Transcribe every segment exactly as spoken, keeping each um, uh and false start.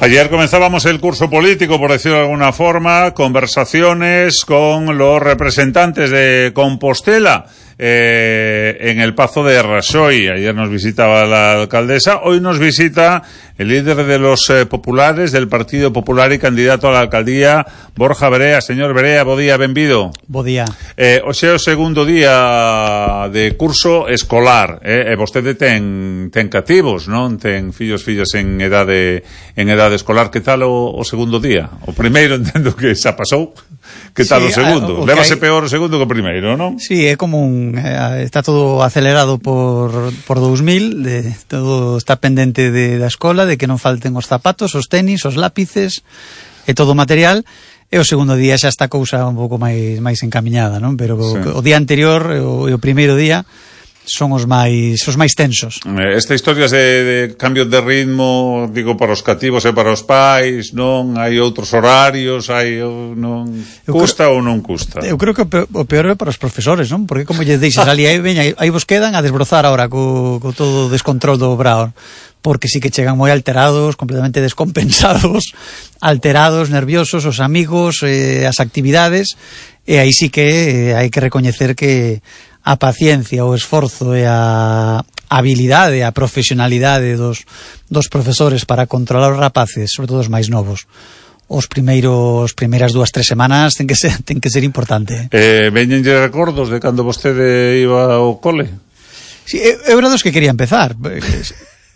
Ayer comenzábamos el curso político, por decirlo de alguna forma, conversaciones con los representantes de Compostela eh, en el Pazo de Raxoi. Ayer nos visitaba la alcaldesa, hoy nos visita el líder de los eh, populares del Partido Popular y candidato a la alcaldía, Borja Verea. Señor Verea, bo día, benvido. Bo día. Eh, hoxe é o segundo día de curso escolar, eh, e vostede ten, ten cativos, non? Ten fillos, fillas en edade, en edade escolar. Que tal o, o segundo día? O primeiro entendo que xa pasou. Que tal sí, o segundo? O Lévase hay... peor o segundo que o primeiro, non? Sí, é como un... Eh, está todo acelerado por, por dous mil, de, todo está pendente de, da escola, de que non falten os zapatos, os tenis, os lápices e todo o material. E o segundo día xa está a cousa un pouco máis máis encamiñada, non? Pero sí. o, o día anterior e o, o primeiro día son os máis os máis tensos. Esta historia de, de cambio de ritmo, digo, para os cativos e para os pais, non? Hai outros horarios, hai non custa creo, ou non custa? Eu creo que o peor é para os profesores, non? Porque como lle deixas ali, aí veña, aí vos quedan a desbrozar agora co, co todo o descontrol do obrao. Porque sí que chegan moi alterados, completamente descompensados, alterados, nerviosos, os amigos, eh, as actividades, e aí sí que eh, hai que recoñecer que a paciencia, o esforzo e a habilidade, a profesionalidade dos, dos profesores para controlar os rapaces, sobre todo os máis novos, os primeiros primeiras dúas, tres semanas ten que ser, ten que ser importante. Eh, veñenlle recordos de cando vostede iba ao cole? Sí, é, é verdade que quería empezar.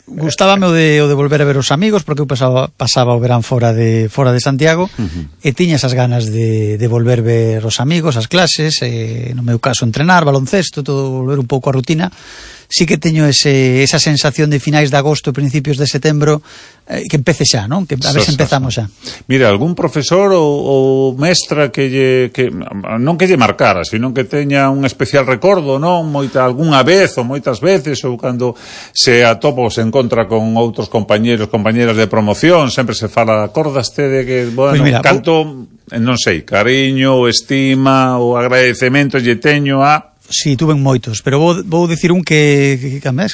Gustábame o de, o de volver a ver os amigos, porque eu pasaba, pasaba o verán fora de fora de Santiago, uh-huh. e tiña esas ganas de, de volver ver os amigos, as clases, e, no meu caso entrenar, baloncesto, todo, volver un pouco a rutina. Sí que teño ese, esa sensación de finais de agosto, principios de setembro, eh, que empece xa, non? Que a ver se empezamos xa. Mira, algún profesor ou, ou mestra que lle, que, non que lle marcara, sino que teña un especial recordo, non? Moita, algunha vez ou moitas veces, ou cando se atopa ou se encontra con outros compañeros, compañeras de promoción, sempre se fala, acordaste de que, bueno, pues mira, canto, vou... non sei, cariño, estima, ou agradecemento lle teño a... Sí, tuve moitos, pero vou, vou dicir un que, que, que además,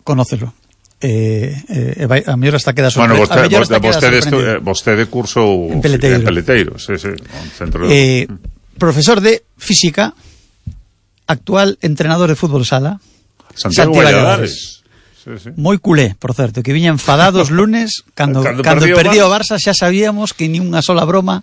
conócelo. Eh, eh, a mellor hasta queda sorprendido. Bueno, vostede, vostede, vostede, vostede curso en Peleteiro. En Peleteiro, sí, sí. Centro de... eh, profesor de física, actual entrenador de fútbol sala. Santiago Valladares. Sí, sí. Moi culé, por certo, que viña enfadado os lunes cando, cando, cando perdió o Barça, xa sabíamos que ni unha sola broma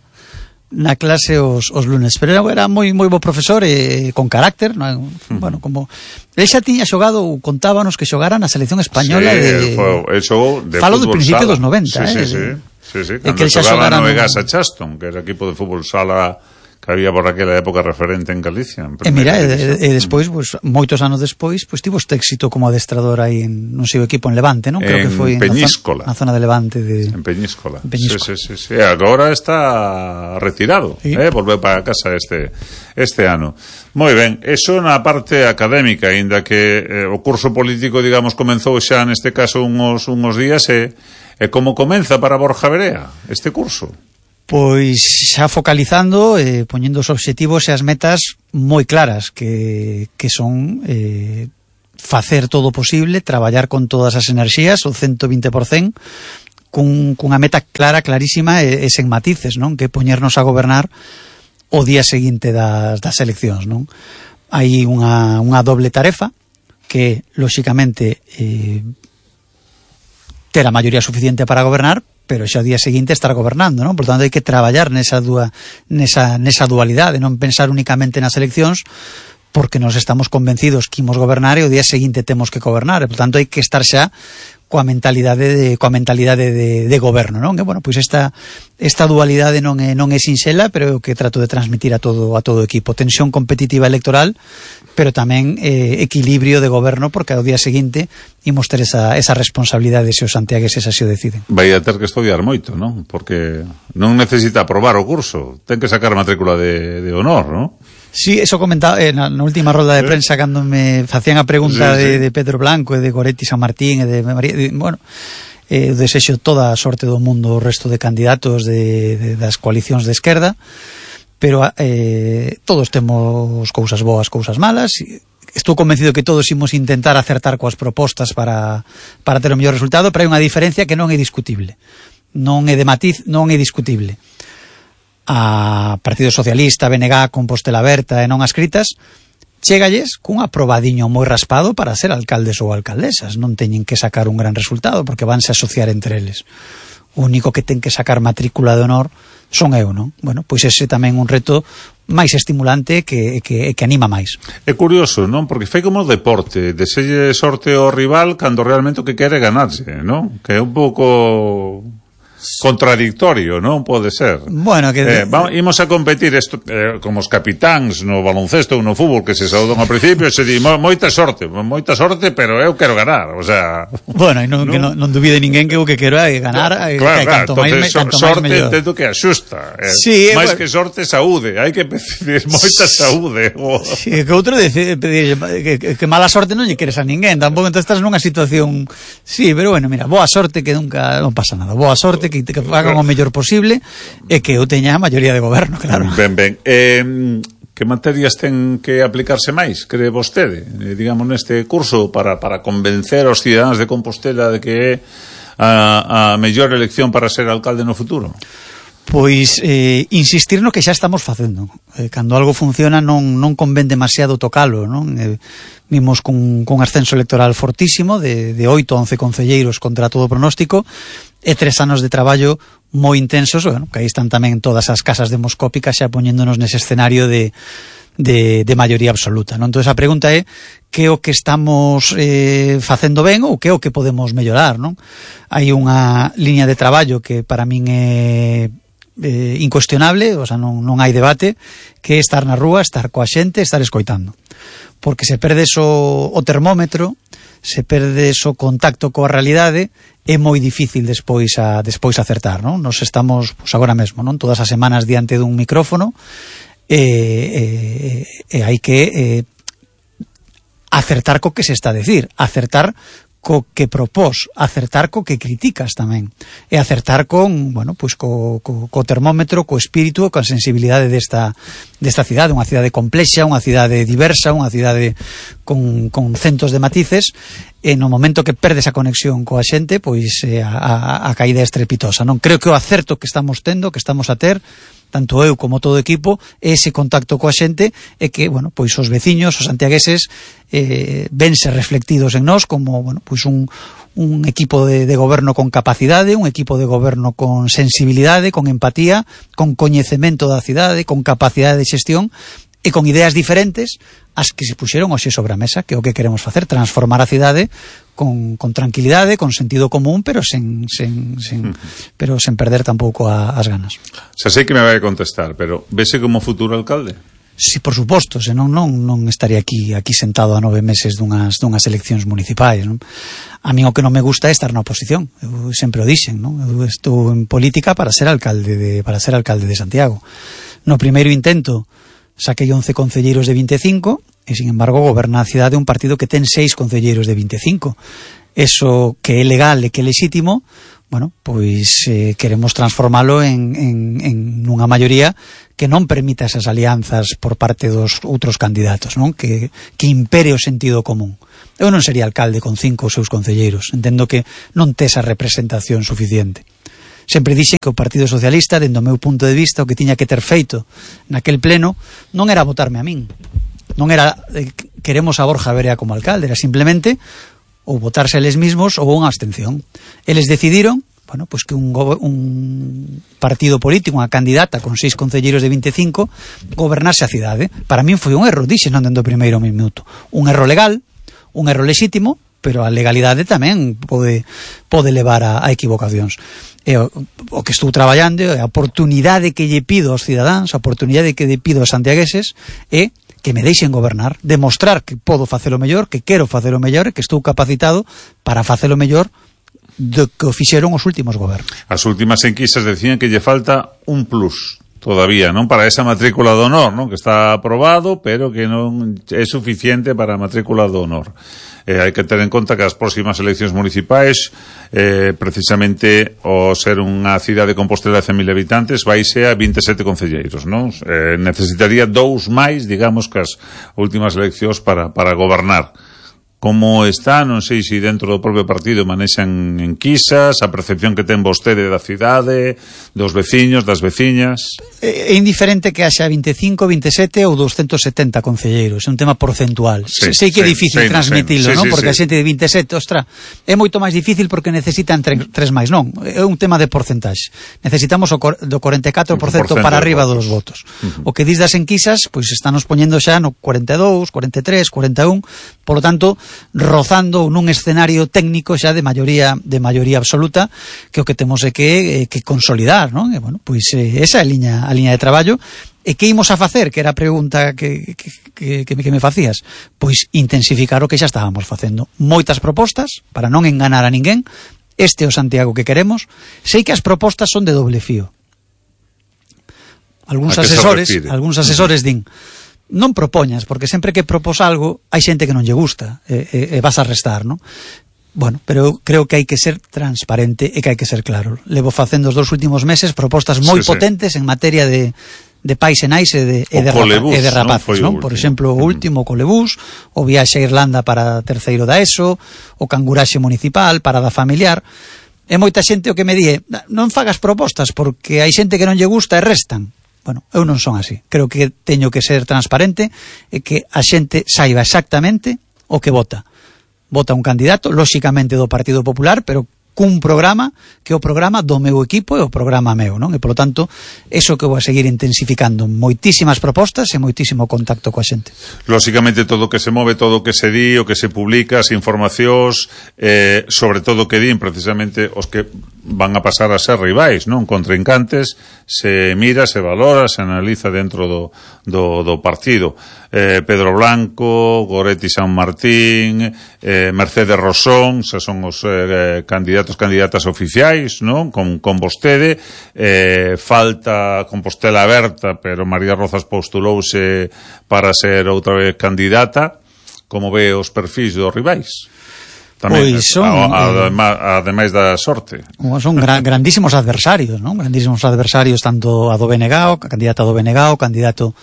na clase os, os lunes, pero era moi moi bo profesor e eh, con carácter, non? Uh-huh. Bueno, como el xa tiña xogado, contábanos que xogara na selección española, sí, de el xogou de falo do principio dos noventa, sí, eh. Sí, sí, sí, sí, cando que xogaba no Egasa Chaston, que era equipo de fútbol sala que había por aquela época referente en Galicia. En e mira, e, e despois, pues, moitos anos despois, pues, tivo este éxito como adestrador aí en non sei o equipo en Levante, non? Creo en que foi Peñíscola. Na zona de Levante de En Peñíscola. En Peñíscola. Sí, sí, sí, sí. Agora está retirado, sí. eh, volveu para casa este este ano. Moi ben, eso na parte académica, aínda que eh, o curso político, digamos, comenzou xa neste caso uns uns días e e como comeza para Borja Verea este curso? Pois xa focalizando, eh, poñendo os obxectivos e as metas moi claras, que, que son eh, facer todo o posible, traballar con todas as enerxías, o ciento vinte por cento, cun, cunha meta clara, clarísima e, e sen matices, non? Que poñernos a gobernar o día seguinte das, das eleccións, non? Hai unha, unha doble tarefa que, lóxicamente, eh, ter a maioría suficiente para gobernar, pero xa o día seguinte estar gobernando, non? Por tanto, hai que traballar nesa, dua, nesa, nesa dualidade, non pensar únicamente nas eleccións, porque nos estamos convencidos que imos gobernar e o día seguinte temos que gobernar, e, por tanto, hai que estar xa coa mentalidade de, coa mentalidade de, de goberno, non? Que, bueno, pois esta, esta dualidade non é, non é sinxela, pero é o que trato de transmitir a todo, a todo o equipo. Tensión competitiva electoral, pero tamén eh, equilibrio de goberno, porque ao día seguinte imos ter esa, esa responsabilidade se os santiagueses así o deciden. Vai a ter que estudiar moito, non? Porque non necesita aprobar o curso, ten que sacar matrícula de, de honor, non? Sí, eso comentaba eh, na, na última rolda de prensa cando me facían a pregunta sí, sí. De, de Pedro Blanco e de Goretti San Martín e de María, de, bueno, eh, desexo toda a sorte do mundo o resto de candidatos de, de, das coalicións de esquerda, pero eh, todos temos cousas boas, cousas malas. Estou convencido que todos imos intentar acertar coas propostas para, para ter o mellor resultado, pero hai unha diferencia que non é discutible. non é de matiz, non é discutible. A Partido Socialista, B N G, Compostela Aberta e non ascritas, chegalles cun aprobadiño moi raspado para ser alcaldes ou alcaldesas. Non teñen que sacar un gran resultado porque vanse asociar entre eles. O único que ten que sacar matrícula de honor son eu, non? Bueno, pois ese tamén un reto máis estimulante que, que, que anima máis. É curioso, non? Porque fai como deporte, deselle sorte ao rival cando realmente o que quere é ganarse, non? Que é un pouco contradictorio, non? Pode ser. Bueno, que eh, vamos, imos a competir esto, eh, como os capitáns no baloncesto ou no fútbol que se saudan ao principio e se di moita sorte, moita sorte, pero eu quero ganar, o sea... Bueno, e non, non, que non, non duvide ninguén que o que quero é ganar, claro, e, claro, que canto entonces, máis, canto sorte máis entendo que axusta, eh, sí, máis bueno, que sorte, saúde, hai que pedir moita saúde. Oh. Sí, que outro dice, pedir, que, que, que mala sorte non lle queres a ninguén, tampouco entón estás nunha situación, sí, pero bueno, mira, boa sorte que nunca, non pasa nada, boa sorte que, que fagan o mellor posible e que eu teña a maioría de goberno, claro. Ben, ben. Eh, que materias ten que aplicarse máis, cree vostede, eh, digamos, neste curso para, para convencer aos cidadáns de Compostela de que é a, a mellor elección para ser alcalde no futuro? Pois eh, insistir no que xa estamos facendo. Eh, cando algo funciona non, non convén demasiado tocalo, non? Eh, vimos cun, cun ascenso electoral fortísimo de, de oito a once concelleiros contra todo pronóstico e tres anos de traballo moi intensos, bueno, que aí están tamén todas as casas demoscópicas xa poñéndonos nese escenario de, de, de maioría absoluta, non? Entón a pregunta é que o que estamos eh, facendo ben ou que o que podemos mellorar, non? Hai unha liña de traballo que para min é eh, incuestionable, o sea, non, non hai debate, que é estar na rúa, estar coa xente, estar escoitando. Porque se perdes o, o termómetro, se perdes o contacto coa realidade, é moi difícil despois a despois acertar, non? Nos estamos, pois agora mesmo, non? Todas as semanas diante dun micrófono e, e, e hai que eh, acertar co que se está a decir, acertar co que propós, acertar co que criticas tamén, e acertar con, bueno, pois co, co, co termómetro, co espírito, coa sensibilidade desta, desta cidade, unha cidade complexa, unha cidade diversa, unha cidade con, con centos de matices, e no momento que perdes a conexión coa xente, pois eh, a, a, a caída é estrepitosa, non? Creo que o acerto que estamos tendo, que estamos a ter, tanto eu como todo o equipo, ese contacto coa xente e que, bueno, pois os veciños, os santiagueses eh, vense reflectidos en nós como, bueno, pois un, un equipo de, de goberno con capacidade, un equipo de goberno con sensibilidade, con empatía, con coñecemento da cidade, con capacidade de xestión e con ideas diferentes as que se puxeron hoxe sobre a mesa, que é o que queremos facer, transformar a cidade con, con tranquilidade, con sentido común, pero sen, sen, sen, pero sen perder tampouco a, as ganas. Xa sei que me vai contestar, pero vese como futuro alcalde? Si, por suposto, senón non, non estaría aquí aquí sentado a nove meses dunhas, dunhas eleccións municipais, non? A mí o que non me gusta é estar na oposición, eu sempre o dixen, non? Eu estou en política para ser alcalde de, para ser alcalde de Santiago. No primeiro intento saquei once concelleiros de vinte e cinco e, sin embargo, goberna a cidade un partido que ten seis concelleiros de vinte e cinco. Eso que é legal e que é legítimo, bueno, pois eh, queremos transformalo en, en, en unha maioría que non permita esas alianzas por parte dos outros candidatos, non? Que, que impere o sentido común. Eu non sería alcalde con cinco os seus concelleiros, entendo que non tes a representación suficiente. Sempre dixen que o Partido Socialista, dentro do meu punto de vista, o que tiña que ter feito naquel pleno non era votarme a min, non era eh, queremos a Borja Verea como alcalde, era simplemente ou votarse eles mismos ou unha abstención. Eles decidiron, bueno, pues que un, un partido político, unha candidata con seis concelleiros de vinte e cinco gobernase a cidade. Para min foi un erro, dixen non dentro do primeiro minuto, un erro legal, un erro lexítimo, pero a legalidade tamén pode pode levar a, a equivocacións. E o, o que estou traballando é a oportunidade que lle pido aos cidadáns, a oportunidade que lle pido aos santiagueses é que me deixen gobernar, demostrar que podo facelo mellor, que quero facelo mellor e que estou capacitado para facelo mellor do que o fixeron os últimos gobernos. As últimas enquisas decían que lle falta un plus todavía, non, para esa matrícula do honor, non, que está aprobado, pero que non é suficiente para a matrícula do honor. Eh, hai que ter en conta que as próximas eleccións municipais, eh, precisamente o ser unha cidade de Compostela de cen mil habitantes, vaise a vinte e sete concelleiros, non? Eh, necesitaría dous máis, digamos, que as últimas eleccións para, para gobernar. como está, non sei se dentro do propio partido manexan enquisas, a percepción que ten vostede da cidade, dos veciños, das veciñas. É indiferente que haxa vinte e cinco, vinte e sete ou doscientos setenta concelleiros, é un tema porcentual. Sí, sei que é difícil transmitilo, non? Porque a xente de vinte e sete, ostra, é moito máis difícil porque necesitan tre, tres máis, non? É un tema de porcentaxe. Necesitamos o cor, do cuarenta e catro por cento para arriba dos votos. Uh -huh. O que dis das enquisas, pois estamos poñendo xa no cuarenta e dous, cuarenta e tres, cuarenta e un, por lo tanto, rozando nun escenario técnico xa de maioría de maioría absoluta, que o que temos é que, eh, que consolidar, non? E, bueno, pois eh, esa é a liña, a liña de traballo. E que imos a facer, que era a pregunta que, que, que, que, que me facías? Pois intensificar o que xa estábamos facendo. Moitas propostas, para non enganar a ninguén. Este é o Santiago que queremos. Sei que as propostas son de doble fío. Algúns asesores, algúns asesores din: non propoñas, porque sempre que propós algo hai xente que non lle gusta e, e, e vas a restar, non? Bueno, pero eu creo que hai que ser transparente e que hai que ser claro. Levo facendo os dos últimos meses propostas moi sí, potentes sí. en materia de, de pais e nais e de, e de, colebús, rapa, e de rapaces, non? non? Por exemplo, o último, o colebús, o viaxe a Irlanda para terceiro da ESO, o canguraxe municipal, parada familiar. E moita xente o que me di: non fagas propostas porque hai xente que non lle gusta e restan. Bueno, eu non son así. Creo que teño que ser transparente e que a xente saiba exactamente o que vota. Vota un candidato, lóxicamente do Partido Popular, pero cun programa que é o programa do meu equipo e o programa meu, non? E, polo tanto, eso que vou a seguir intensificando, moitísimas propostas e moitísimo contacto coa xente. Lóxicamente, todo o que se move, todo o que se di, o que se publica, as informacións, eh, sobre todo o que din, precisamente, os que van a pasar a ser rivais, non? Contrincantes, se mira, se valora, se analiza dentro do, do, do partido. Eh, Pedro Blanco, Goretti San Martín, eh, Mercedes Rosón, se son os eh, candidatos, candidatas oficiais, non? Con, con vostede, eh, falta Compostela aberta, pero María Rozas postulouse para ser outra vez candidata. Como ve os perfis dos rivais? Tamén, pois son, ademais, ademais da sorte. Son gran, grandísimos adversarios, non? Grandísimos adversarios, tanto a do B N G, o candidato do B N G, o candidato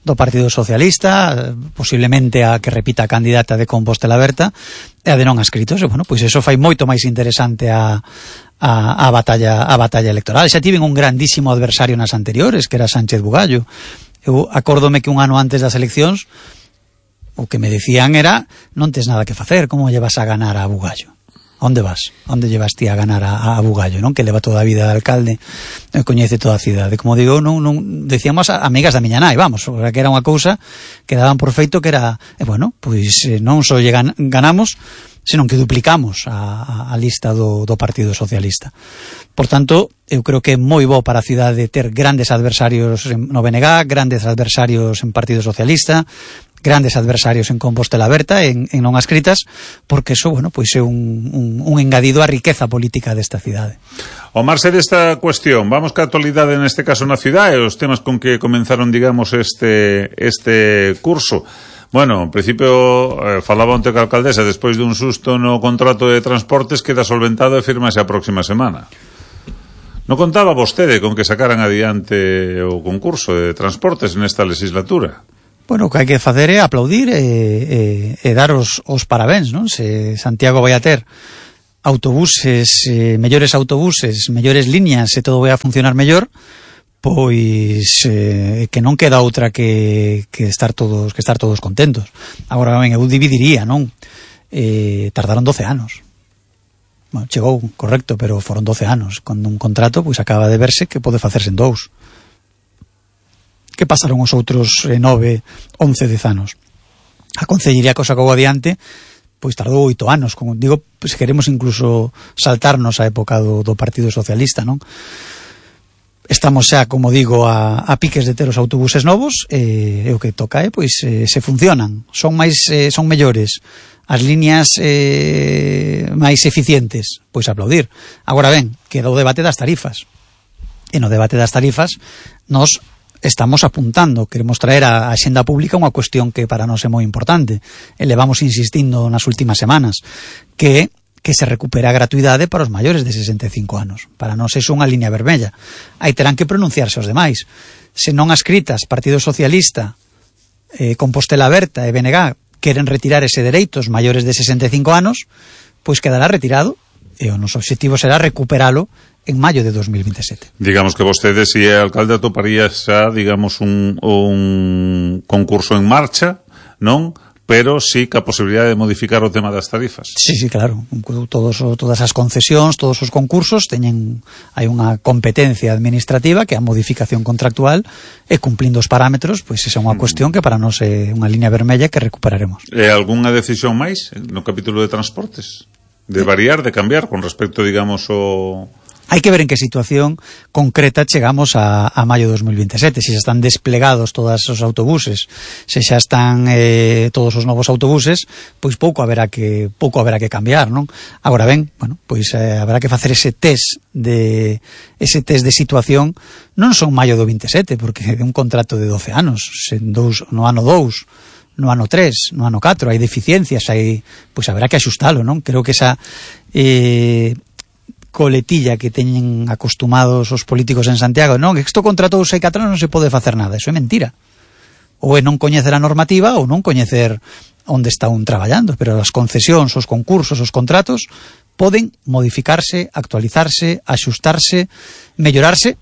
do Partido Socialista, posiblemente a que repita a candidata de Compostela Aberta, e a de non adscritos. E, bueno, pois eso fai moito máis interesante a, a, a batalla a batalla electoral. Xa tiven un grandísimo adversario nas anteriores, que era Sánchez Bugallo. Eu acórdome que un ano antes das eleccións o que me decían era: non tes nada que facer, como lle vas a ganar a Bugallo? Onde vas? Onde llevas ti a ganar a, a Bugallo, non? Que leva toda a vida de alcalde e coñece toda a cidade. Como digo, non, non decíamos a, amigas da miña nai, vamos, que era unha cousa que daban por feito que era, e bueno, pois non só lle gan, ganamos, senón que duplicamos a, a, a lista do, do Partido Socialista. Por tanto, eu creo que é moi bo para a cidade ter grandes adversarios no B N G, grandes adversarios en Partido Socialista, grandes adversarios en Compostela Aberta, en, en non adscritas, porque eso, bueno, pois é un, un, un engadido á riqueza política desta cidade. Ao marxe desta cuestión, vamos ca actualidade neste caso na cidade, os temas con que comenzaron, digamos, este este curso. Bueno, en principio, eh, falaba onte ca alcaldesa, despois dun susto no contrato de transportes, queda solventado e firmase a próxima semana. Non contaba vostede con que sacaran adiante o concurso de transportes nesta legislatura? Bueno, o que hai que facer é aplaudir e, e, e dar os, os parabéns, non? Se Santiago vai a ter autobuses, eh, mellores autobuses, mellores líneas e todo vai a funcionar mellor, pois eh, que non queda outra que, que estar todos que estar todos contentos. Agora, ben, eu dividiría, non? Eh, tardaron doce anos. Bueno, chegou, correcto, pero foron doce anos. Cando un contrato, pois acaba de verse que pode facerse en dous. Que pasaron os outros eh, nove, once, dez anos. A Concellería que o sacou adiante, pois tardou oito anos, como digo, se queremos incluso saltarnos a época do, do Partido Socialista, non? Estamos xa, como digo, a, a piques de ter os autobuses novos, e, e o que toca é, pois, eh, se funcionan, son máis, eh, son mellores, as líneas eh, máis eficientes, pois aplaudir. Agora ben, queda o debate das tarifas. E no debate das tarifas, nos estamos apuntando, queremos traer a axenda pública unha cuestión que para nós é moi importante, e levamos insistindo nas últimas semanas, que que se recupere a gratuidade para os maiores de sesenta e cinco anos. Para nós é unha línea vermella. Aí terán que pronunciarse os demais. Se non adscritas Partido Socialista, eh, Compostela Aberta e B N G, queren retirar ese dereito os maiores de sesenta e cinco anos, pois quedará retirado, e o noso objetivo será recuperalo en maio de dos mil veintisiete. Digamos que vostede, se é alcalde, atoparía xa, digamos, un, un concurso en marcha, non? Pero sí que a posibilidade de modificar o tema das tarifas. Sí, sí, claro. Todos, todas as concesións, todos os concursos teñen, hai unha competencia administrativa que é a modificación contractual, e cumplindo os parámetros, pois esa é unha cuestión que para nós é unha liña vermella que recuperaremos. E algunha decisión máis no capítulo de transportes? De variar, de cambiar con respecto, digamos, o... Hai que ver en que situación concreta chegamos a, a maio de dos mil veintisiete, se xa están desplegados todos os autobuses, se xa están eh, todos os novos autobuses, pois pouco haberá que pouco haberá que cambiar, non? Agora ben, bueno, pois eh, haberá que facer ese test de ese test de situación, non son maio do veintisiete, porque é un contrato de doce anos, sen dous, no ano dous, no ano tres, no ano catro, hai deficiencias, hai, pois haberá que axustalo, non? Creo que esa eh, coletilla que teñen acostumados os políticos en Santiago, non, que isto contratouse hai catro anos non se pode facer nada, eso é mentira. Ou é non coñecer a normativa ou non coñecer onde está un traballando, pero as concesións, os concursos, os contratos poden modificarse, actualizarse, axustarse, mellorarse,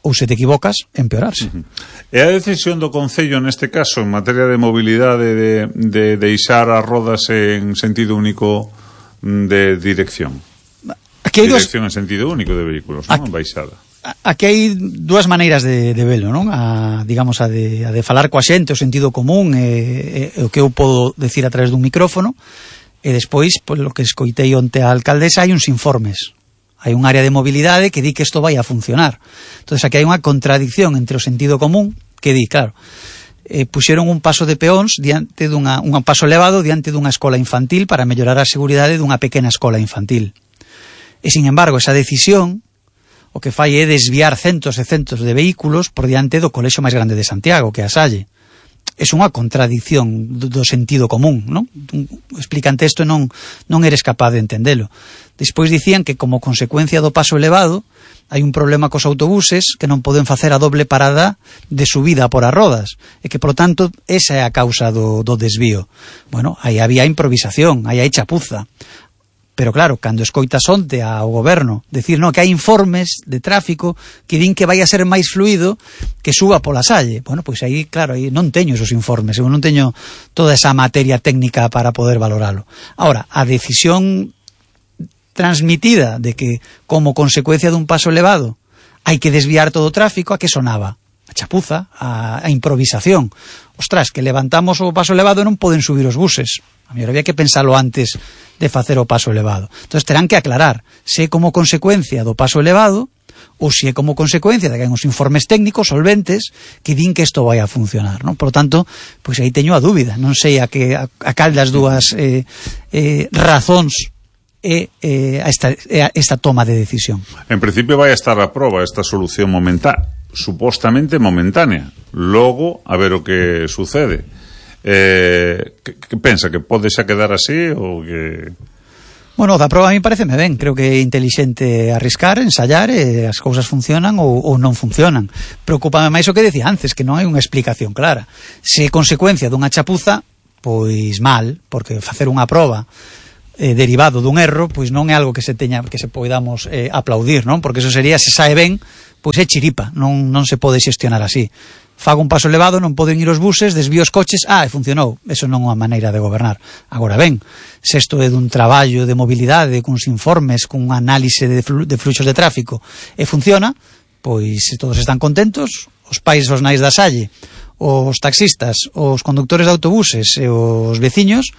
ou se te equivocas, empeorarse. Uh-huh. E a decisión do Concello neste caso en materia de mobilidade de, de deixar as rodas en sentido único de dirección? Aquí hai dirección dos... en sentido único de vehículos, non? Baixada. Aquí hai dúas maneiras de, de velo, non? A, digamos, a de, a de falar coa xente, o sentido común, e, e, e o que eu podo decir a través dun micrófono, e despois, polo que escoitei onte a alcaldesa, hai uns informes. Hai un área de mobilidade que di que isto vai a funcionar. Entón, aquí hai unha contradicción entre o sentido común, que di, claro, eh, puxeron un paso de peóns diante dunha, un paso elevado diante dunha escola infantil para mellorar a seguridade dunha pequena escola infantil. E, sin embargo, esa decisión o que fai é desviar centos e centos de vehículos por diante do colexio máis grande de Santiago, que é a Salle. É unha contradicción do, do sentido común, non? Explicante isto non, non eres capaz de entendelo. Despois dicían que, como consecuencia do paso elevado, hai un problema cos autobuses que non poden facer a doble parada de subida por as rodas, e que, por tanto, esa é a causa do, do desvío. Bueno, aí había improvisación, aí hai chapuza. Pero claro, cando escoitas onte ao goberno decir no, que hai informes de tráfico que din que vai a ser máis fluido que suba pola Salle, bueno, pois aí, claro, aí non teño esos informes, eu non teño toda esa materia técnica para poder valoralo. Ahora, a decisión transmitida de que, como consecuencia dun paso elevado, hai que desviar todo o tráfico, a que sonaba? A chapuza, a, a improvisación. Ostras, que levantamos o paso elevado e non poden subir os buses. A mellor había que pensalo antes de facer o paso elevado. Entón terán que aclarar se é como consecuencia do paso elevado ou se é como consecuencia de que hai uns informes técnicos solventes que din que isto vai a funcionar, non? Por lo tanto, pois aí teño a dúbida, non sei a que a, a cal das dúas eh, eh, razóns é eh, esta, esta toma de decisión. En principio vai a estar a proba esta solución momentánea, supostamente momentánea. Logo, a ver o que sucede. Eh, que, que pensa que pode xa quedar así ou que... Bueno, da proba a mí pareceme ben, creo que é inteligente arriscar, ensayar, e as cousas funcionan ou, ou non funcionan. Preocúpame máis o que decía antes, que non hai unha explicación clara. Se é consecuencia dunha chapuza, pois mal, porque facer unha proba eh, derivado dun erro, pois non é algo que se teña que se podamos eh, aplaudir, non? Porque eso sería, se sae ben, pois é chiripa, non, non se pode xestionar así. Fago un paso elevado, non poden ir os buses, desvío os coches, ah, e funcionou. Eso non é unha maneira de gobernar. Agora ben, se isto é dun traballo de mobilidade, cuns informes, cun análise de, flu de fluxos de tráfico, e funciona, pois se todos están contentos, os pais os nais da Salle, os taxistas, os conductores de autobuses e os veciños,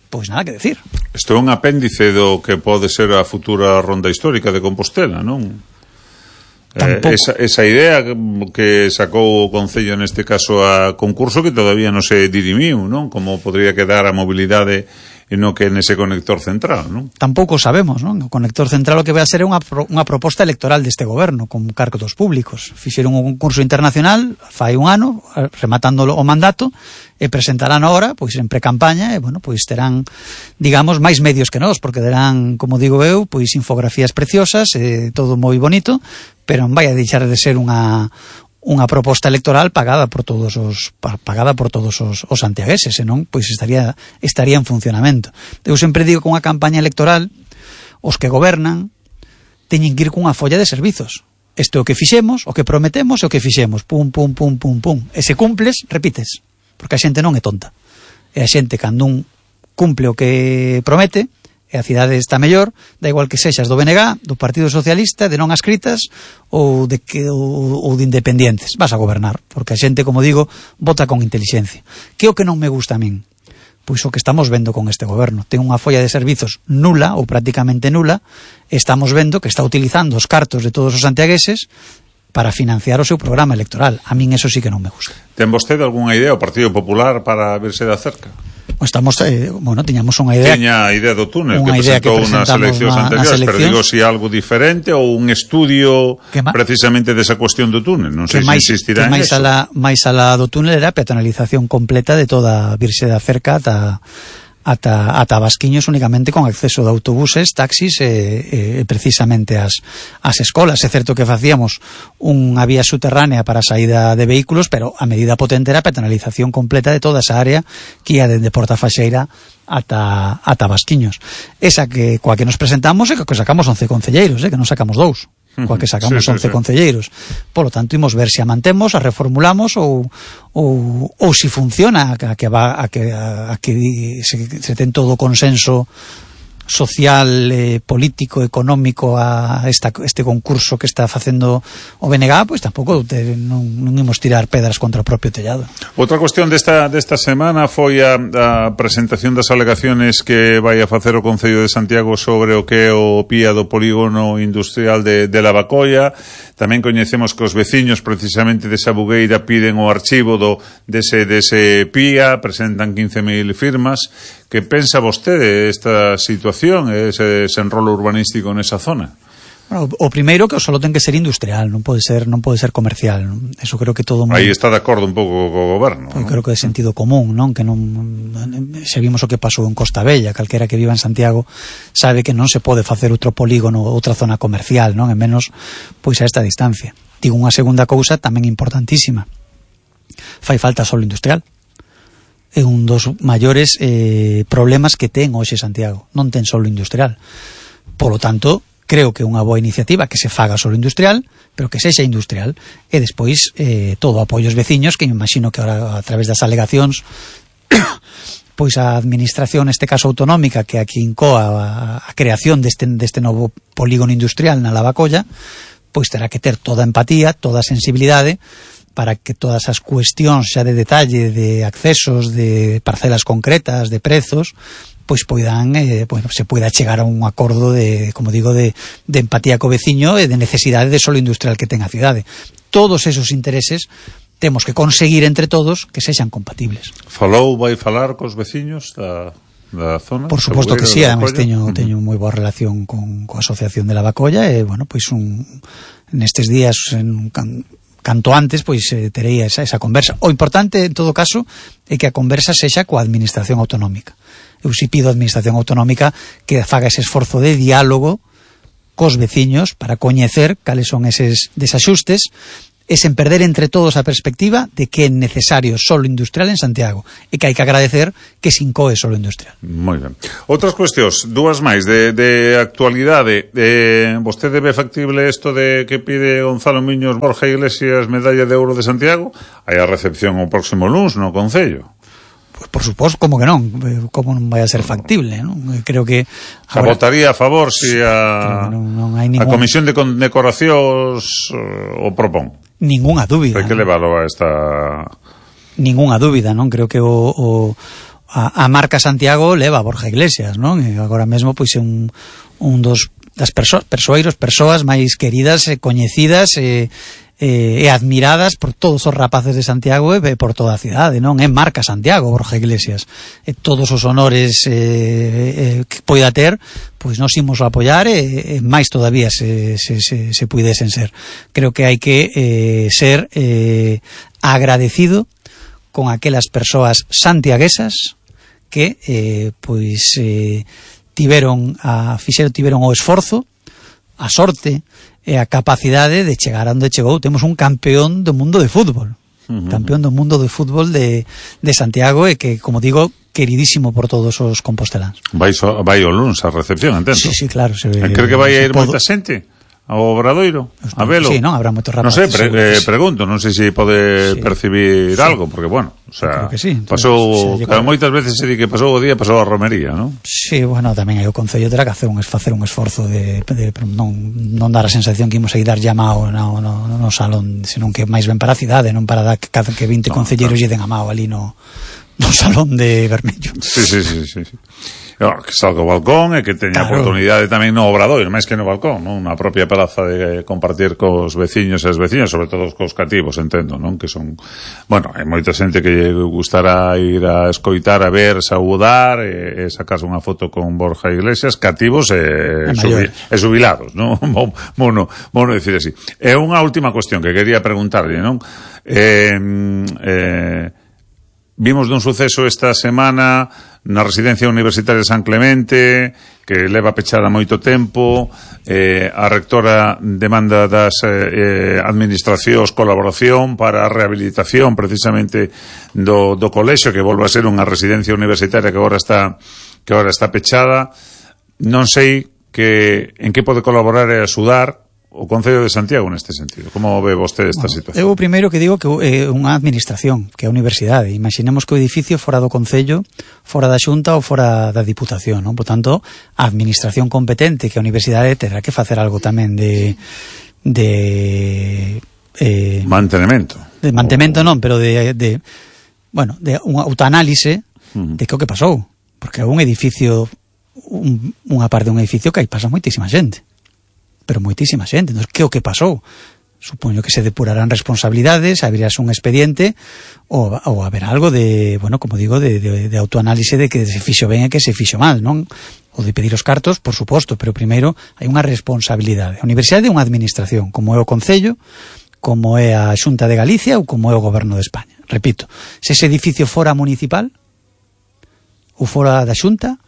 pois nada que decir. Isto é un apéndice do que pode ser a futura ronda histórica de Compostela, non? Eh, esa, esa idea que sacou o Concello neste caso a concurso, que todavía non se dirimiu, non? Como podría quedar a mobilidade e non que nese conector central, non? Tampouco sabemos, non? O conector central o que vai a ser é unha, pro, unha proposta electoral deste goberno con cargos públicos. Fixeron un concurso internacional fai un ano, rematando o mandato, e presentarán ahora, pois en precampaña, e bueno, pois terán, digamos, máis medios que nós, porque terán, como digo eu, pois infografías preciosas, e todo moi bonito, pero non vai a deixar de ser unha unha proposta electoral pagada por todos os pagada por todos os, os santiagueses, senón pois estaría estaría en funcionamento. Eu sempre digo que unha campaña electoral os que gobernan teñen que ir cunha folla de servizos. Isto é o que fixemos, o que prometemos e o que fixemos. Pum, pum, pum, pum, pum. E se cumples, repites. Porque a xente non é tonta. E a xente, cando un cumple o que promete, e a cidade está mellor, da igual que sexas do B N G, do Partido Socialista, de non ascritas ou de, que, ou, ou de independientes. Vas a gobernar. Porque a xente, como digo, vota con intelixencia. Que é o que non me gusta a min? Pois o que estamos vendo con este goberno. Ten unha folla de servizos nula, ou prácticamente nula, e estamos vendo que está utilizando os cartos de todos os santiagueses para financiar o seu programa electoral. A min eso sí que non me gusta. Ten vostede algunha idea, o Partido Popular, para verse de cerca? Estamos, eh, bueno, tiñamos unha idea. Tiña a idea do túnel que idea presentou que nas eleccións na, anteriores, nas pero digo si algo diferente ou un estudio precisamente desa cuestión do túnel. Non sei se insistirá en máis eso. A máis alá do túnel era a peatonalización completa de toda a Virxe da Cerca ata ata, ata Basquiños, únicamente con acceso de autobuses, taxis e, e precisamente as, as escolas. É certo que facíamos unha vía subterránea para a saída de vehículos, pero a medida potente era a peatonalización completa de toda esa área que ia dende Portafaxeira ata, ata Basquiños. Esa que coa que nos presentamos é que sacamos once concelleiros, eh, que non sacamos dous. Coa que sacamos sí, sí, once sí. concelleiros. Por lo tanto, imos ver se a mantemos, a reformulamos ou ou, ou si funciona, a que va a que a, a que se, se ten todo o consenso social, eh, político, económico a esta, este concurso que está facendo o B N G, pois tampouco te, non, non imos tirar pedras contra o propio tellado. Outra cuestión desta, desta semana foi a, a presentación das alegaciones que vai a facer o Concello de Santiago sobre o que é o P I A do polígono industrial de, de Lavacolla. Tamén coñecemos que os veciños precisamente desa Bugueira piden o archivo do, dese, dese P I A, presentan quince mil firmas. Que pensa vostede esta situación, ese desenrolo urbanístico nesa zona? Bueno, o primeiro que só ten que ser industrial, non pode ser non pode ser comercial, non? Eso creo que todo aí está de acordo un pouco co goberno, non? Creo que é sentido común, non? Que non se vimos o que pasou en Costa Bella, calquera que viva en Santiago sabe que non se pode facer outro polígono, outra zona comercial, non? En menos pois a esta distancia. Digo unha segunda cousa tamén importantísima. Fai falta solo industrial. É un dos maiores eh, problemas que ten hoxe Santiago. Non ten solo industrial. Por lo tanto, creo que é unha boa iniciativa que se faga solo industrial, pero que sexa industrial. E despois eh, todo o apoio aos veciños, que me imagino que ahora a través das alegacións pois a administración, neste caso autonómica, que aquí incoa a, a creación deste, deste novo polígono industrial na Lavacolla, pois terá que ter toda a empatía, toda a sensibilidade para que todas as cuestións xa de detalle, de accesos, de parcelas concretas, de prezos, pois poidan, eh, bueno, se poida chegar a un acordo de, como digo, de, de empatía co veciño e de necesidade de solo industrial que ten a cidade. Todos esos intereses temos que conseguir entre todos que sexan compatibles. Falou, vai falar cos veciños da, da zona? Por suposto que sí, además teño, uh-huh. teño moi boa relación con, coa Asociación de Lavacolla e, bueno, pois un, nestes días en, canto antes, pois eh, terei esa, esa conversa. O importante, en todo caso, é que a conversa sexa coa administración autonómica. Eu si pido a administración autonómica que faga ese esforzo de diálogo cos veciños para coñecer cales son eses desaxustes e sen perder entre todos a perspectiva de que é necesario solo industrial en Santiago e que hai que agradecer que se incoe solo industrial. Moi ben. Outras cuestións, dúas máis de, de actualidade. Eh, vostede ve factible isto de que pide Gonzalo Miños Borja Iglesias medalla de ouro de Santiago? Hai a recepción o próximo luns no Concello. Pues por suposto, como que non, como non vai a ser factible, non? Creo que ahora, votaría a favor se si a non, non hai ningún... a Comisión de Condecoracións uh, o propón. Ninguna dúbida. Hai que leválo a esta... Ninguna dúbida, non? Creo que o, o a, a marca Santiago leva a Borja Iglesias, non? E agora mesmo pois é un, un dos das perso, persoeiros, persoas máis queridas e coñecidas e e admiradas por todos os rapaces de Santiago e por toda a cidade, non? É marca Santiago, Borja Iglesias. E todos os honores eh, eh, que poida ter, pois nos imos a apoiar e, e máis todavía se, se, se, se puidesen ser. Creo que hai que eh, ser eh, agradecido con aquelas persoas santiaguesas que eh, pois eh, tiveron a fixeron tiveron o esforzo, a sorte e a capacidade de chegar a onde chegou. Temos un campeón do mundo de fútbol, uh-huh. campeón do mundo de fútbol de, de Santiago, e que, como digo, queridísimo por todos os composteláns. Vai, so, vai o luns a recepción, entendo? Sí, sí, claro. Se, Creo que vai a ir moita xente ao Obradoiro, a velo. Sí, non, habrá moitos rapaces. Non sei, pre, eh, pregunto, non sei se pode sí. percibir sí. algo, porque, bueno, o sea, sí. pasou, sí, claro, moitas veces se di que pasou o día, pasou a romería, non? Sí, bueno, tamén hai o Concello terá que hacer un, facer un esforzo de, de non, non dar a sensación que imos a ir dar llamao no, no, no salón, senón que máis ben para a cidade, non para dar que, que vinte no, concelleiros claro. lle den a mao ali no, no salón de Bermello. Sí, sí, sí, sí, sí. No, que salga o balcón e que teña claro. oportunidade tamén no Obradoiro, máis que no balcón, non? Na propia praza de compartir cos veciños e as veciñas, sobre todo cos cativos, entendo, non? Que son, bueno, hai moita xente que gustará ir a escoitar, a ver, saudar e, e sacarse unha foto con Borja Iglesias, cativos e, subi, e jubilados, non? Mono, mono decir así. E unha última cuestión que quería preguntarle, non? Eh, eh, vimos dun suceso esta semana na residencia universitaria de San Clemente, que leva pechada moito tempo, eh, a rectora demanda das eh, administracións colaboración para a rehabilitación precisamente do, do colexio, que volva a ser unha residencia universitaria que agora está que agora está pechada. Non sei que en que pode colaborar e axudar o Concello de Santiago neste sentido. Como ve vostede esta bueno, situación? Eu primeiro que digo que é eh, unha administración, que é a universidade. Imaginemos que o edificio fora do Concello, fora da Xunta ou fora da Diputación, non? Por tanto, a administración competente, que a universidade terá que facer algo tamén de de eh, mantenimento. De mantenimento non, pero de, de bueno, de un autoanálise uh-huh. de que o que pasou, porque é un edificio un, unha parte dun edificio que aí pasa moitísima xente. Pero moitísima xente. Entón, que o que pasou? Supoño que se depurarán responsabilidades, habrías un expediente ou, ou haber algo de, bueno, como digo, de, de, de autoanálise de que se fixo ben e que se fixo mal, non? Ou de pedir os cartos, por suposto, pero primeiro hai unha responsabilidade. A universidade é unha administración, como é o Concello, como é a Xunta de Galicia ou como é o Goberno de España. Repito, se ese edificio fora municipal ou fora da Xunta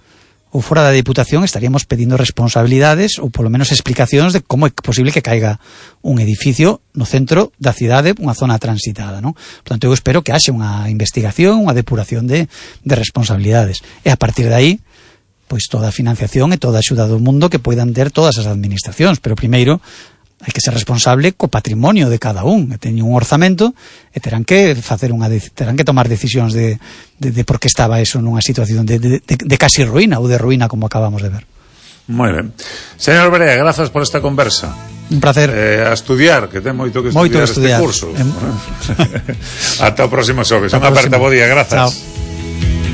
ou fora da Diputación, estaríamos pedindo responsabilidades ou polo menos explicacións de como é posible que caiga un edificio no centro da cidade, unha zona transitada, non? Por tanto, eu espero que haxe unha investigación, unha depuración de, de responsabilidades. E a partir de aí, pois toda a financiación e toda a axuda do mundo que poidan ter todas as administracións. Pero primeiro, hai que ser responsable co patrimonio de cada un. E teñen un orzamento e terán que facer unha terán que tomar decisións de, de, de por que estaba eso nunha situación de, de, de, de casi ruína ou de ruína como acabamos de ver. Moi ben. Señor Brea, grazas por esta conversa. Un placer. Eh, a estudiar, que ten moito que estudiar, moito que estudiar este curso. Em... Ata o próximo xoves. Unha aperta, bo día, grazas. Chao.